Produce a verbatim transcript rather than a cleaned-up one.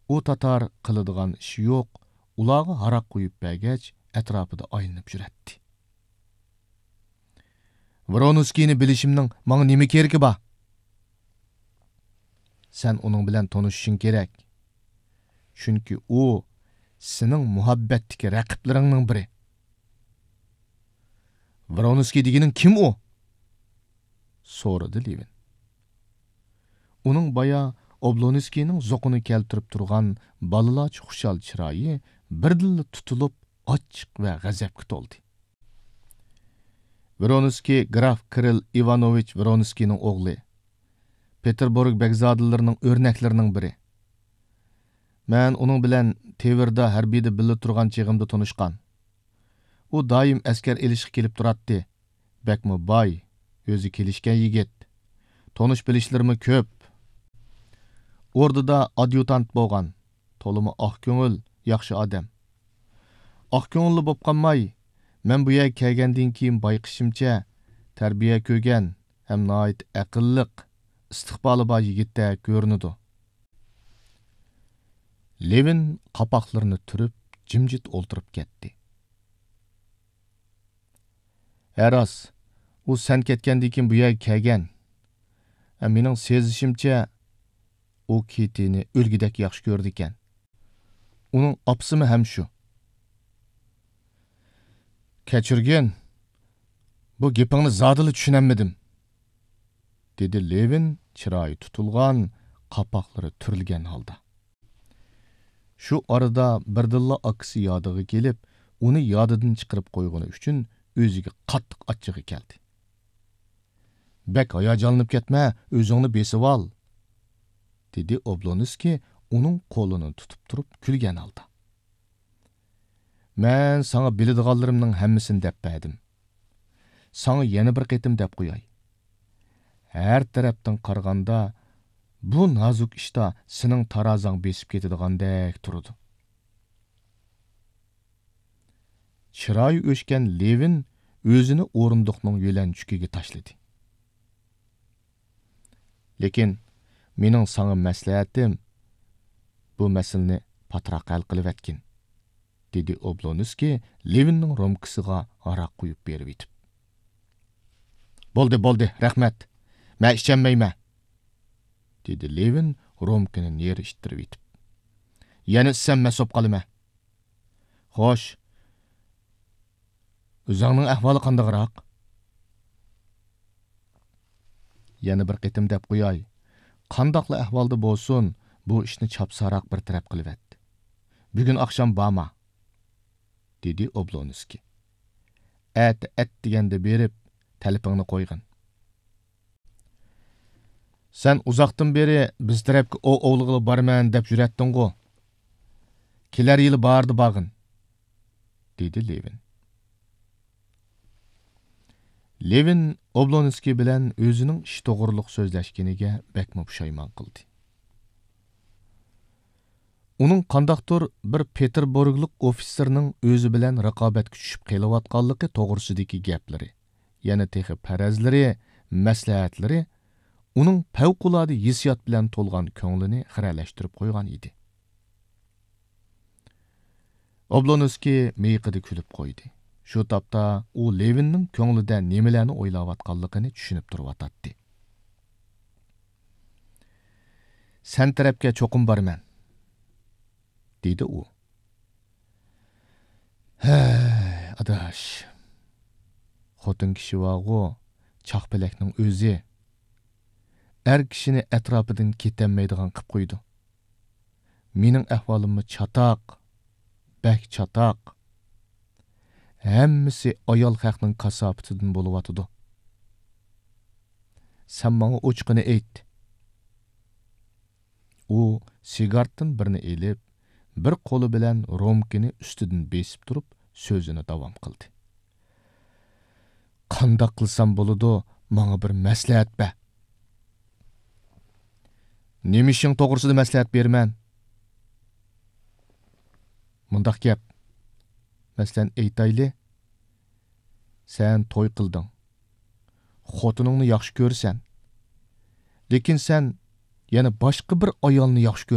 ئۇ تاتار قىلىدىغان ئىشى يوق، ئۇلارغا ھاراق قۇيۇپ بەرگەچ، ئەتراپىدا ئايلىنىپ يۈرەتتى. ۋرونسكىينى بىلىشىمنىڭ ماڭا نېمە كېرىكى بار؟ سەن ئۇنىڭ بىلەن تونۇشۇشۇڭ كېرەك. چۈنكى ئۇ سېنىڭ مۇھەببەتتىكى رەقىبلىرىڭنىڭ بىرى. ۋرونسكىي دېگىنىڭ كىم ئۇ؟ سورىدى لېۋىن. ئۇنىڭ بايا ئوبلونسكىينىڭ زوقىنى كەلتۈرۈپ تۇرغان بالىلارچە خۇشال چىرايى بىردىنلا تۇتۇلۇپ، ئاچچىق ۋە غەزەپكە تولدى. ۋرونسكىي گراف كىرىل ئىۋانوۋىچ ۋرونسكىينىڭ ئوغلى. پېتېربۇرگ بەگزادىلىرىنىڭ ئۆرنەكلىرىنىڭ بىرى. مەن ئۇنىڭ بىلەن تىۋېردا ھەربىيدە بىللە تۇرغان چېغىمدا تونۇشقان. ئۇ دائىم ئەسكەر ئېلىشقا كېلىپ تۇراتتى. بەكمۇ باي، ئۆزى كېلىشكەن يىگىت. تونۇش بىلىشلىرىمۇ كۆپ. ئوردىدا ئاديۇتانت بولغان. تولىمۇ ئاق كۆڭۈل، ياخشى ئادەم. ئاق كۆڭۈللا بوپ قالماي، مەن بۇ يەرگە كەلگەندىن كېيىن بايقىشىمچە، تەربىيە كۆرگەن ھەم ناھايىتى ئەقىللىق، ئىستىقبالى بار يىگىتتەك كۆرۈنىدۇ. لېۋىن قاپاقلىرىنى تۈرۈپ، جىمجىت ئولتۇرۇپ كەتتى. ھە راست، ئۇ سەن كەتكەندىن كېيىن بۇ يەرگە كەلگەن. ھە، مېنىڭ سېزىشىمچە، ئۇ كىتىنى ئۆلگۈدەك ياخشى كۆرىدىكەن. ئۇنىڭ ئاپىسىمۇ ھەم شۇ. كەچۈرگىن، بۇ گېپىڭنى زادىلا چۈشىنەلمىدىم، دېدى لېۋىن چىرايى تۇتۇلغان، قاپاقلىرى تۈرۈلگەن ھالدا. شۇ ئارىدا بىردىنلا ئاكىسى يادىغا كېلىپ، ئۇنى يادىدىن چىقىرىپ قويغىنى ئۈچۈن ئۆزىگە قاتتىق ئاچچىقى كەلدى. بەك ھاياجانلىنىپ كەتمە، ئۆزۈڭنى بېسىۋال، دېدى ئوبلونسكىي ئۇنىڭ قولىنى تۇتۇپ تۇرۇپ كۈلگەن ھالدا. مەن ساڭا بىلىدىغانلىرىمنىڭ ھەممىسىنى دەپ بەردىم. ساڭا يەنە بىر قېتىم دەپ قوياي. ھەر تەرەپتىن قارىغاندا، بۇ نازۇك ئىشتا سېنىڭ تارازاڭ بېسىپ كېتىدىغاندەك تۇرىدۇ. چىرايى ئۆچكەن لېۋىن ئۆزىنى ئورۇندۇقنىڭ يۆلەنچۈكىگە تاشلىدى. لېكىن مېنىڭ ساڭا مەسلىھەتىم، بۇ مەسىلىنى پاتراق ھەل قىلىۋەتكىن، دېدى ئوبلونسكىي لېۋىننىڭ رومكىسىغا ھاراق قۇيۇپ بېرىۋېتىپ. بولدى، بولدى، رەھمەت. مەن ئىچەلمەيمەن، دېدى لېۋىن رومكىنى نېرى ئىتتىرىۋېتىپ. يەنە ئىچسەم مەس بولۇپ قالىمەن. خوش، ئۆزۈڭنىڭ ئەھۋالى قانداقراق؟ يەنە بىر قېتىم دەپ قوياي، قانداقلا ئەھۋالدا بولسۇن، بۇ ئىشنى چاپسانراق بىر تەرەپ قىلىۋەت. بۈگۈن ئاخشام بارما، دېدى ئوبلونسكىي. ئەتە ئەت دېگەندە بېرىپ، تەلىپىڭنى قويغىن. سەن ئۇزاقتىن بېرى بىز تەرەپكە ئوۋ ئوۋلىغىلى بارىمەن دەپ يۈرەتتىڭغۇ؟ كېلەر يىلى باھاردا بارغىن، دېدى لېۋىن. لېۋىن ئوبلونسكىي بىلەن ئۆزىنىڭ ئىش توغرۇلۇق سۆزلەشكىنىگە بەكمۇ پۇشايمان قىلدى. ئۇنىڭ قانداقتۇر بىر پېتېربۇرگلۇق ئوفىتسېرنىڭ ئۆزى بىلەن رىقابەتكە چۈشۈپ قېلىۋاتقانلىقى توغرىسىدىكى گەپلىرى، يەنە تېخى پەرەزلىرى، مەسلىھەتلىرى ئۇنىڭ پەۋقۇلئاددە ھېسسىيات بىلەن تولغان كۆڭلىنى خىرەلەشتۈرۈپ قويغان ئىدى. ئوبلونسكىي مىيىقىدا كۈلۈپ قويدى. شۇ تاپتا ئۇ لېۋىننىڭ كۆڭلىدە نېمىلەرنى ئويلاۋاتقانلىقىنى چۈشىنىپ تۇرۇۋاتاتتى. سەن تەرەپكە چوقۇم بارىمەن، دېدى ئۇ. ھەي، ئاداش. خوتۇن كىشى بارغۇ، چاقپەلەكنىڭ ئۆزى. ئەر كىشىنى ئەتراپىدىن كېتەلمەيدىغان قىپ قويىدۇ. مېنىڭ ئەھۋالىممۇ چاتاق، بەك چاتاق. ھەممىسى ئايال خەقنىڭ كاساپىتىدىن بولۇۋاتىدۇ. سەن ماڭا ئوچۇقىنى ئېيت. ئۇ سىگارتتىن بىرنى ئېلىپ، بىر قولى بىلەن رومكىنى ئۈستىدىن بېسىپ تۇرۇپ، سۆزىنى داۋام قىلدى. قانداق قىلسام بولىدۇ، ماڭا بىر مەسلىھەت بەر. نېمە ئىشىڭ توغرىسىدا مەسلىھەت بېرىمەن؟ مۇنداق گەپ. مەسىلەن، ئېيتايلى، سەن توي قىلدىڭ. خوتۇنۇڭنى ياخشى كۆرىسەن. لېكىن سەن يەنە باشقا بىر ئايالنى ياخشى كۆرۈپ